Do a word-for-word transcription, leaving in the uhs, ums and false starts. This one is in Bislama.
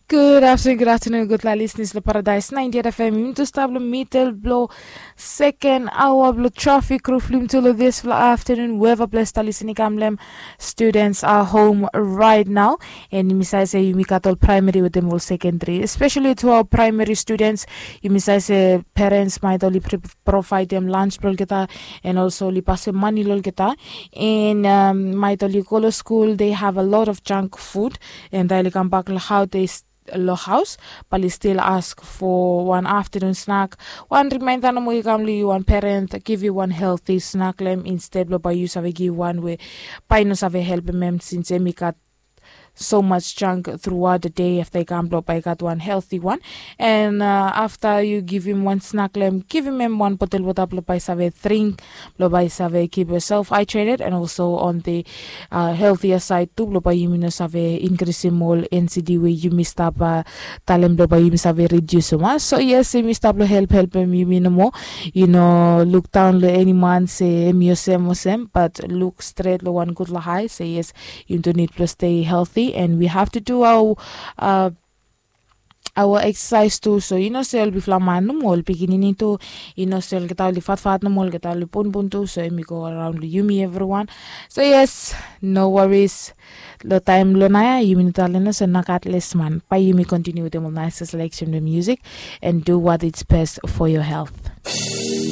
Gud aftenun, gud aftenun, gudfala lisnis long Paradise ninety-eight F M. Yumi tu stap long midel blong seken aoa blong trafik ruf long yumi tu long disfala aftenun, weva ples ta lisin i kam long hem. Students are home right now, and yumi save se yumi gat ol praemari wetem ol sekendari, especially to our primary students. Yumi save se parents maet oli provaedem lunch blong olgeta, and also oli pasem mane long olgeta, and um, maet oli go long skul, they have a lot of junk food, and taem oli kambak long haos, they s- long haos, bae oli stil ask for wan aftenun snak. Wan rimaenda nomo i kam long yu, wan parent give yu wan healthy snak long hem, instead blong bae yu save give wan we bae i no save helpem hem, since hem i gat so much junk throughout the day. Afta i kam blong bae i gat wan healthy wan, and uh, afta yu givim wan snak long hem, givim hem wan botel wota blong bae i save dring, blong bae i save keep yourself hydrated, and also on the uh, healthier side tu, blong bae yumi no save inkrisim ol N C D we yumi stap uh, talem blong bae yumi save ridiusim, a? So yes, yumi stap long help helpem yumi nomo. Yu no luk daon long eni man se hem i olsem olsem, but luk stret long wan gudfala hae se yes, yumi tu nid blong stay healthy, and we have to do our uh, our exercise tu. So yu no se ol bigfala man nomo, ol pikinini tu, yu no se olgeta oli fatfat nomo, olgeta oli bunbun tu. So hem i go araon long yumi evriwan. So yes, no worries. Long taem blong naoia yumi no talem olsem, no gat lesman. Bae yumi kontiniu wetem ol naes selection blong music, and do what is best for your health.